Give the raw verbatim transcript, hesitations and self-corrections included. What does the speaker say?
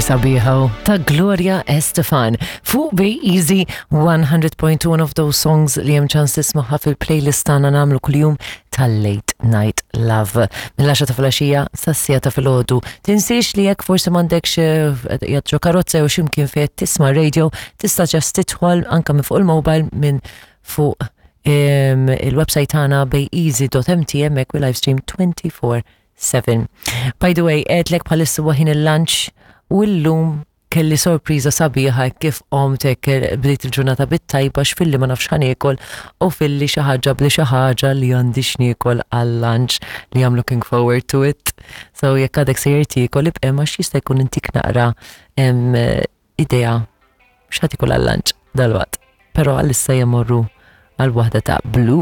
Sabiħa ta' Gloria Estefan. Fuq Bay Easy one hundred point two, one of those songs li hemm ċans tismaħħa fil-playlist tagħna nagħmlu kuljum tal-Late Night Love. Mill-għaxra ta' filgħaxija sas-siegħa ta' filgħodu. Tinsiex li jekk forsi m'għandekx eh, ġo karozza jew x'imkien fejn tisma' radio, tista' just tidħol anke minn fuq il-mobile, minn fuq il-website tagħna bayeasy dot M T, hemmhekk we live stream twenty-four seven. By the way, għedtlek bħalissa ħin il-lunch u llum kelli sorpriża sabiħa kif qomtek, bdejt il-ġurnata bit-tajba, x'filli ma nafx ħa niekol u filli xi ħaġa bli xi ħaġa li għandi x'niekol għal-lunch li I'm looking forward to it. So jekk għadek sejjer tiekol, ibqa' għax jista' jkun intik naqra idea x'ħa tiekol għal-lunch dalwaqt. Però għalissa jemorru għal waħda ta' Blue.